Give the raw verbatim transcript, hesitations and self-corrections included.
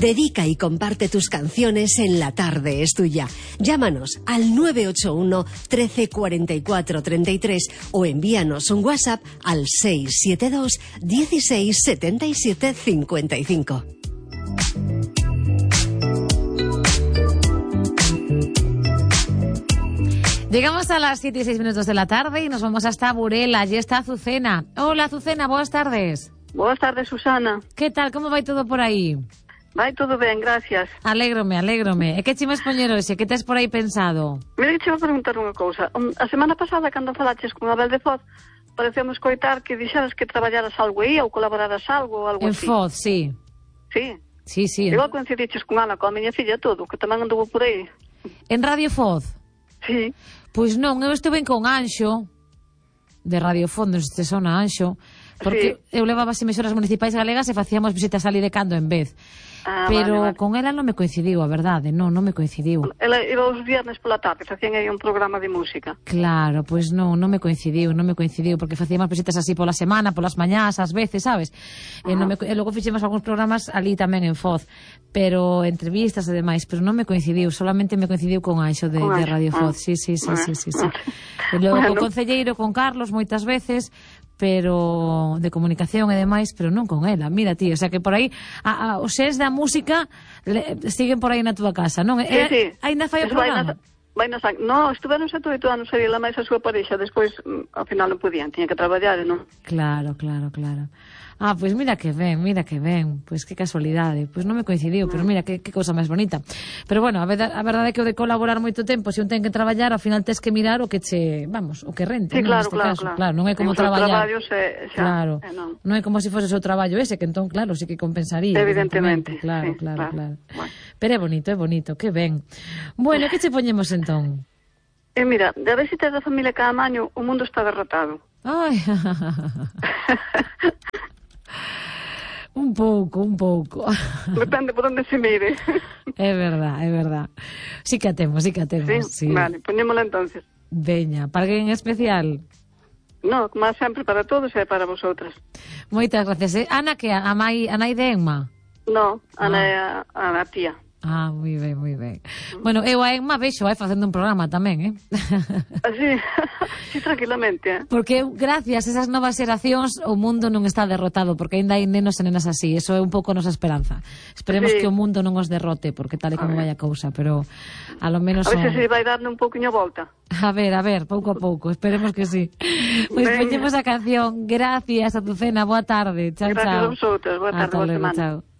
Dedica y comparte tus canciones en La Tarde es Tuya. Llámanos al nueve ocho uno, trece, cuarenta y cuatro, treinta y tres o envíanos un WhatsApp al seis siete dos, dieciséis, setenta y siete, cincuenta y cinco. Llegamos a las siete y seis minutos de la tarde y nos vamos hasta Burela. Allí está Azucena. Hola, Azucena, buenas tardes. Buenas tardes, Susana. Que tal, como vai todo por aí? Vai todo ben, gracias. Alégrome, alégrome. E que chimas poñer hoxe? Que tes por aí pensado? Mira que che vou preguntar unha cousa. A semana pasada, cando falaches con Abel de Foz, parecemos coitar que dixeras que traballaras algo aí ou colaboraras algo ou algo en así. En Foz, sí. Sí? Sí, sí. Igual coincidiches con Ana, con a miña filla, todo, que tamén anduvo por aí. En Radio Foz? Sí. Pois non, eu estuve con Anxo, de Radio Foz, non sei se sona Anxo, porque sí. Eu levaba as emisoras municipais galegas e facíamos visitas ali de cando en vez. Ah, pero vale, vale. Con ela non me coincidiu, a verdade, non, non me coincidiu. Ela iba os viernes pola tarde, facían aí un programa de música. Claro, pois non, non me coincidiu, non me coincidiu, porque facíamos visitas así pola semana, polas mañás, ás veces, sabes? E, non me, e logo fixemos algúns programas ali tamén en Foz, pero entrevistas e demais, pero non me coincidiu, solamente me coincidiu con Anxo de, de Radio Foz, ah. sí, sí, sí, sí, sí, sí. E logo bueno. Co concelleiro, con Carlos, moitas veces, pero de comunicación e demais, pero non con ela. Mira, tío, o sea que por aí a, a, os sés da música le, siguen por aí na túa casa, non? Sí, sí. Ainda fai o programa? Vai na, no, estuveron sete oito anos aí la máis a súa parexa, despois ao final non podían, tiña que traballar, non? Claro, claro, claro. Ah, pois pues mira que ben, mira que ben, pois pues que casualidade, pois pues non me coincidiu, pero mira que, que cousa máis bonita. Pero bueno, a verdade, a verdade é que o de colaborar moito tempo, se un ten que traballar, ao final tes que mirar o que che, vamos, o que rente, sí, non, claro, neste claro, caso, claro. claro, non é como en traballar. Traballo se, xa, claro, eh, non. non é como se fose o seu traballo ese, que entón, claro, sí que compensaría. Evidentemente, claro, sí, claro, claro, claro. Bueno. Pero é bonito, é bonito, que ben. Bueno, que che poñemos entón? E eh, mira, de a ver se tes da familia Caamaño, o mundo está derrotado. Ai, un pouco, un pouco. Depende por onde se mire. É verdad, é verdad. Sí que a temos, sí que a temos. Sí, sí. Vale, poñémola entonces. Veña, para alguén en especial? No, como sempre, para todos e para vosotras. Moitas gracias. Eh? Ana, que a, a, mai, a nai de Emma? No, Ana ah. é a, a, a tía. Ah, moi ben, moi ben. Bueno, eu a Emma vexo vai facendo un programa tamén, eh? Así, sí, tranquilamente, eh? Porque gracias a esas novas xeracións o mundo non está derrotado, porque ainda hai nenos e nenas así, eso é un pouco a nosa esperanza. Esperemos sí. que o mundo non os derrote, porque tal e como vai a cousa, pero a lo menos... A ver son... se vai dando un pouquinho volta. A ver, a ver, pouco a pouco, esperemos que sí. Pois pues poñemos a canción. Gracias, Azucena, boa tarde. Chao, Gracias chao. a vosotros, boa tarde, Hasta boa luego, semana. Chao.